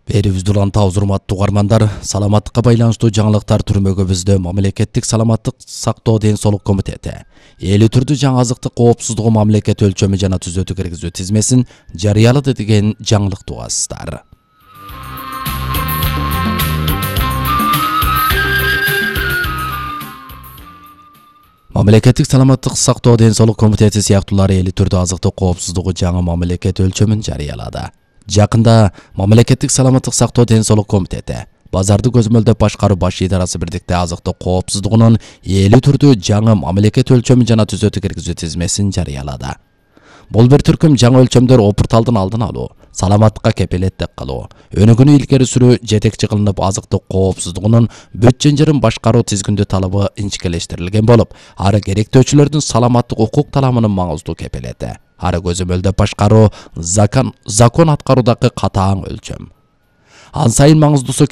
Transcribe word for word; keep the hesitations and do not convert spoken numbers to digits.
Берибизди улантабыз, урматтуу угармандар. Саламаттыкка байланыштуу жаңылыктар түрмөгүбүздө мамлекеттик саламаттык сактоо ден соолук комитети эл түрдүү жаңы азыктык коопсуздугу мамлекет өлчөмү жана түзөтүү киргизүү тизмесин жарыялады деген жаңылыкты угасыздар. Мамлекеттик саламаттык сактоо ден соолук комитети сыяктуулар эл түрдүү азыктык коопсуздугу жаңы мамлекет өлчөмүн жарыялады. Жакында мамлекеттик саламаттык сактоо ден соолук комитети базарды көзөмөлдөп башкаруу баш идарасы бирдикте азыктык коопсуздугунун эл түрдүү жаңы мамлекет өлчөмү жана түзөтүү киргизүү тизмесин жарыялады. Бул бир түркүм жаңы өлчөмдөр опурталдын алдын алуу, саламаттыкка кепилеттик кылуу, өнүгүүнү илгери сүрүү жетекчи кылынып азыктык коопсуздугунун бүт чынжырын башкаруу тизгиндүү талабы инчикелештирилген болуп, ары керектөөчүлөрдүн саламаттык укук таламынын маңыздуу кепилети. Ары көзөмөлдөп башкаруу закон закон аткаруудагы катаң өлчөм. Ан сайын маңыздуусу